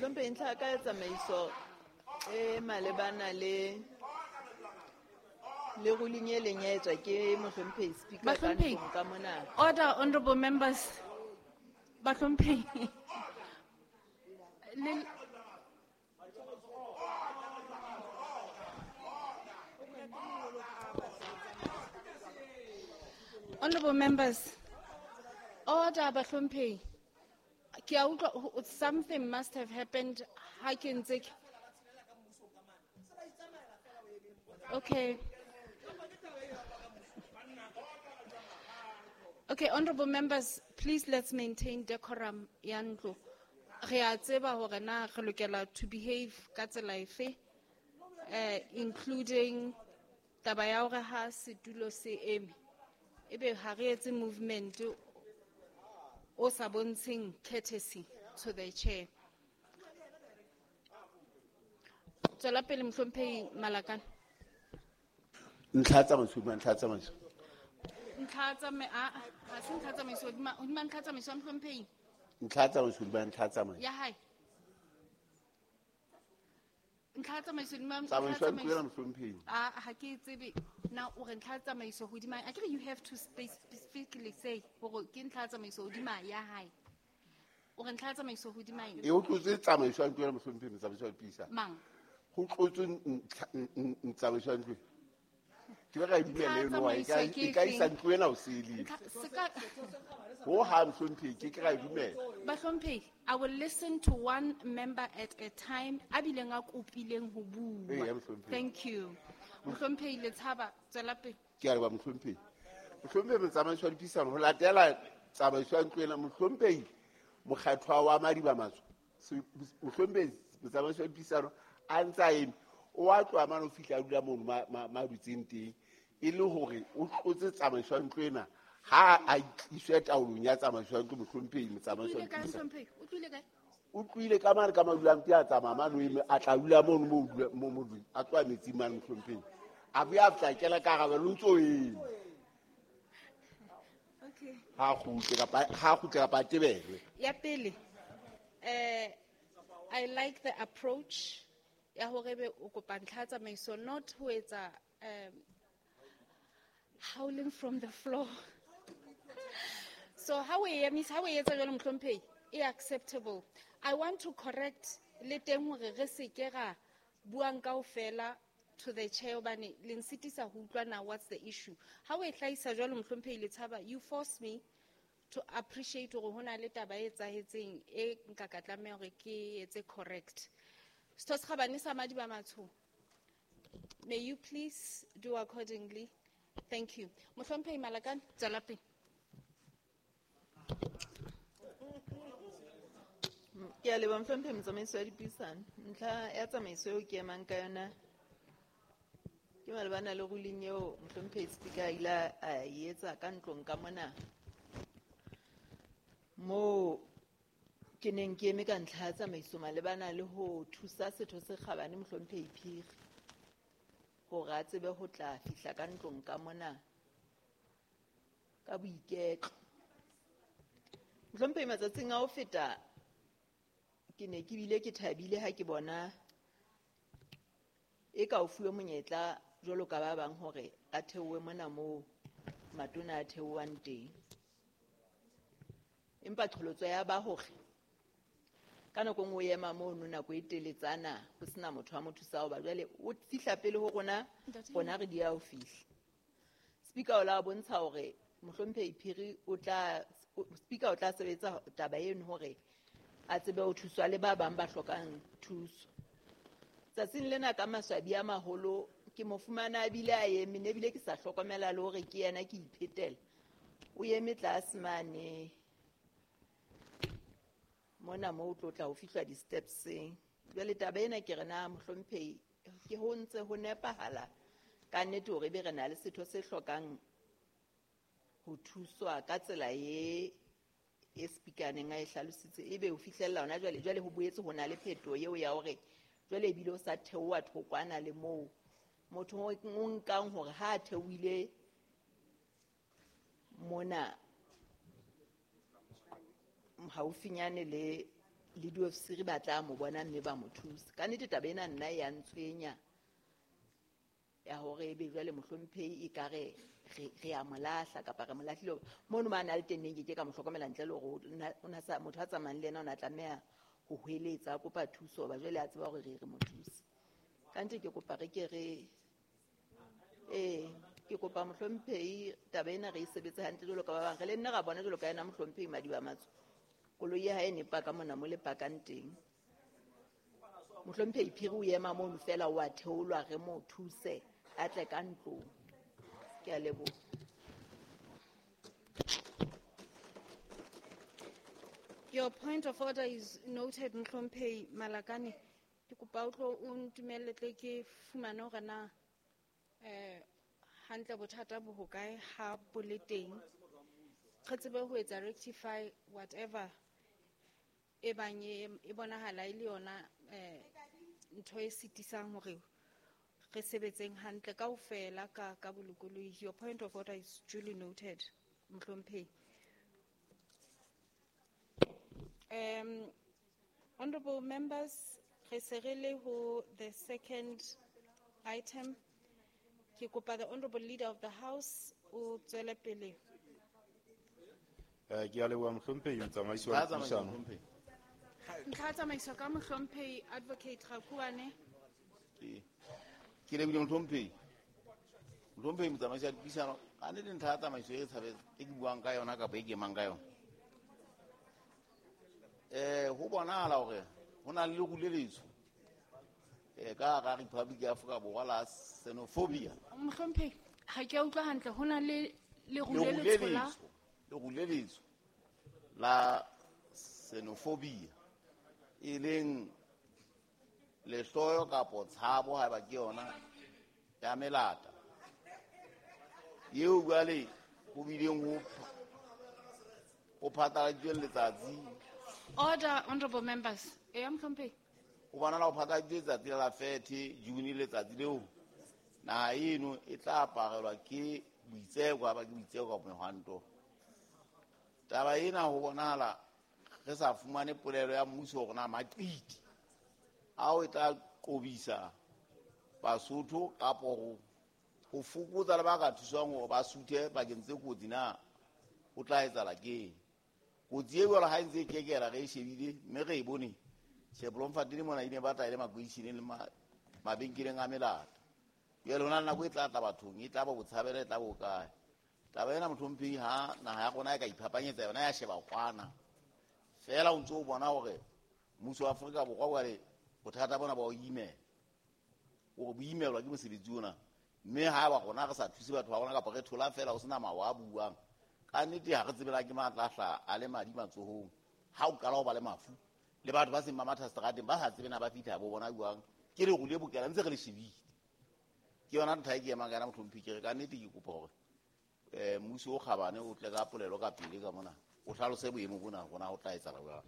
Mohlomphehi, ntlha ya ka ya tsamaiso e malebana le le ruling e leng ya etswa ke mohlomphehi Speaker ka Bahlomphehi. ntlong ka mona. Order, honorable members. Bahlomphehi. Honorable members, order, Bahlomphehi. Ke a utlwa, something must have happened. Ha ke ntse ke Okay. Okay, honorable members, please let's maintain decorum ya ntlo. Re a tseba hore na re lokela to behave ka tsela efe, including taba ya hore ha setulo se eme, ebe ha re etse movement o sa bontsheng courtesy to the chair. Tswela pele, Mohlomphehi Malakane. Ntlha tsamaiso, ntlha tsamaiso. Ntlha tsamaiso, ha se ntlha tsamaiso, hodima ntlha tsamaiso ya Mohlomphehi. Ntlha tsamaiso, hodima ntlha tsamaiso. Ya hae. Ntlha tsamaiso, hodima ntlha Tsamaiso ya ntlo ena, tsamaiso. Mohlomphehi. Ah, ha ke tsebe. Na o re ntlha tsamaiso hodima, akere you have to specifically say hore ke ntlha tsamaiso hodima ya hae. O re ntlha tsamaiso hodima eng? E, ho tlotswe tsamaiso ya ntlo ena, Mohlomphehi, tsamaiso ya dipuisano. Mang? Ho tlotswe tsamaiso ya ntlo. Ke be ka e dumela eno, wa, e ka, Ntlha tsamaiso ke e ka isa efeng? ntlo ena ho sele. Ntlha, se ka Ho hang, Mohlomphehi, ke ke ra e dumela. Bahlomphehi, I will listen to one member at a time, a bileng a kopileng ho bua. Eya, Mohlomphehi. Thank you. Mohlomphehi Letshaba, tswela pele. Ke a leboha, Mohlomphehi. Mohlomphehi, motsamaiso wa dipuisano, ho latela tsamaiso ya ntlo ena, Mohlomphehi, mokgethwa wa Madiba Matsho, Mohlomphehi, motsamaiso wa dipuisano, a ntse a eme, o a tloha mane ho fihla a dula mono ma dutseng teng, e le hore o tlotse tsamaiso ya ntlo ena, ha a tliswe taolong ya tsamaiso ya ntlo, Mohlomphehi, motsamaiso wa O tlohile kae, dipuisano. Mohlomphehi? O tlohile kae? O tlohile ka mane ka madulang teng, a tsamaya mane o eme, a tla dula mono moo o dula, mo, mo dula, a tloha metsing mane, Mohlomphehi. A boya a fihla a kena ka hara ba, o ntso o eme. Okay. Ha kgutle kapa, ha kgutle kapa a tebelwe. Ya pele, I like the approach ya hore ebe o kopa ntlha tsamaiso, not ho etsa, howling from the floor. So how we emisa, how we etsa jwalo, Mohlomphehi, e acceptable. I want to correct le teng hore re se ke ra buang kaofela to the chair hobane le nsitisa ho utlwa na what's the issue. Ha o e hlahisa jwalo, Mohlomphehi Letshaba, you force me to appreciate hore hona le taba e etsahetseng e nka ka tlameha hore ke etse correct. Setho se kgabane sa Madiba Matsho, may you please do accordingly. Thank you. Mohlomphehi Malakane, tswela pele. Ke a leboha, Mohlomphehi motsamaisi wa dipuisano. Ntlha ya tsamaiso eo ke emang ka yona ke malebana le ruling eo Mohlomphehi Speaker a ile a e etsa ka ntlong ka mona, moo ke neng ke eme ka ntlha ya tsamaiso malebana le ho thusa setho se kgabane Mohlomphehi Phiri hore a tsebe ho tla fihla ka ntlong ka mona ka boiketlo. Mohlomphehi, matsatsing a ho feta ke ne ke bile ke thabile ha ke bona e ka o fuwe monyetla jwalo ka ba bang hore a theohe mona moo matona a theohang teng. Empa qholotso ya ba hore ka nako e nngwe o ema mono nako e teletsana ho sena motho a mo thusang, hoba jwale o fihla pele ho rona, Ntate. rona re dia ho fihla. Speaker o la bontsha hore Mohlomphehi Phiri o tla, Speaker o tla sebetsa taba eno hore a tsebe ho thuswa le ba bang ba hlokang thuso. Tsatsing lena ka maswabi a maholo ke mo fumana a bile a eme, ne bile ke sa hlokomela le hore ke yena ke iphetela. O eme tlase mane mona moo o tlo tla ho fihla di-stepseng. Jwale taba ena ke re na Mohlomphehi ke ho ntse ho nepahala ka nnete hore ebe re na le setho se hlokang ho thuswa ka tsela e speaker neng a e hlalositse, ebe ho fihlella hona jwale. Jwale ho boetse ho na le phetoho eo ya hore jwale ebile o sa theoha thokwana le moo motho o nkang hore ha a theohile mona haufinyane le le diofisiri ba tla mo bona mme ba mo thusa. Ka nnete taba ena nna ya ntshwenya ya hore ebe jwale mohlomphehi e ka re re a mo lahla kapa re mo lahlile. Mono ma na le teng neng ke ke ka mo hlokomela ntle le hore o na sa motho a tsamayang le yena o na tlameha ho hweletsa a kopa thuso ba jwale a tseba hore re mo thuse. Ka nnete ke kopa re ke re ke kopa mohlomphehi taba ena re e sebetse hantle jwalo ka ba bang. Re le nna ra bona jwalo ka yena mohlomphehi Madiba Matso. Koloi ya hae ne paka mona mo le pakang teng. Mohlomphehi Phiri o ema mono fela o a theolwa re mo thuse a tle ka ntlong. Ke a leboha. Your point of order is noted, Mohlomphehi Malakane. Ke kopa o tlo o ntumelle tle ke fumane hore na hantle bothata bo hokae ha bo le teng. Re tsebe ho etsa rectify whatever e bang e bonahala e le yona ntho e sitisang hore re sebetseng hantle kaofela ka bolokolohi. Your point of order is duly noted, Mohlomphehi. Honorable members, re se re le ho the second item. Ke kopa the honorable leader of the house o tswele pele. Ke a leboha mohlomphehi motsamaisi wa Ntlha ya tsamaiso, dipuisano. mohlomphehi. Ntlha ya tsamaiso ka mohlomphehi Advocate Rakuane. Ke lebohile mohlomphehi. Mohlomphehi motsamaisi wa dipuisano, ka nnete ntlha ya tsamaiso e tshabetse e ke buang ka yona kapa e ke emang ka yona. Ho bonahala hore ho na le leru le letsho ka hara Republic ya Afrika Borwa la xenophobia. Mohlomphehi, ha ke a utlwa hantle, ho na le leru le Leru le letsho la letsho, leru le letsho la xenophobia e leng lehloyo kapo tshabo haeba ke yona ya melata eo jwale ho bileng ho phatlaladitsweng letsatsi. Order, honorable members. Eya, mohlomphehi. Ho bonahala ho phatlaladitswe letsatsi la 30 June, letsatsi leo naha eno e tla aparelwa ke boitseko, ha ba ke boitseko kapa mehwanto. Taba ena ho bonahala re sa fumane polelo ya mmuso hore na maqiti ao e tla qobisa Basotho kapo ho fokotsa le ba ka thuswang hore ba suthe bakeng tse kotsi na ho tla etsahala keng. Kotsi e jwalo ha e ntse e kekela re e shebile mme re e bone. Tjhe, Bloemfontein mona e ne batla e le makeisheneng le mabenkeleng a melata. Jwale ho na le nako e tla tla bathong, e tla ba botshabelo, e tla bo kae. Taba ena mohlomphehi ha naha ya rona e ka iphapanyetsa yona ya sheba kwana. Feela o ntso o bona hore mmuso wa Afrika Borwa jwale bothata bona ba o imela. Hore bo imelwa ke mosebetsi ona. Mme ha ba rona re sa thuse batho ba rona kapa re thola feela ho sena mawa a buang. Ka nnete ha re tsebe ke matla a hlaha a le madi matsohong. Ha o qala ho ba le mafu le batho ba seng ba matha seterateng ba sa tsebe na ba fihla bo bona jwang. Ke leru le bokela ntse re le shebile. Ke yona ntlha e ke emang ka yona mohlomphehi, ke re ka nnete ke kopa hore mmuso o kgabane o tle ka polelo ka pele ka mona o hlalose boemo bona hore na ho tla etsahala jwang.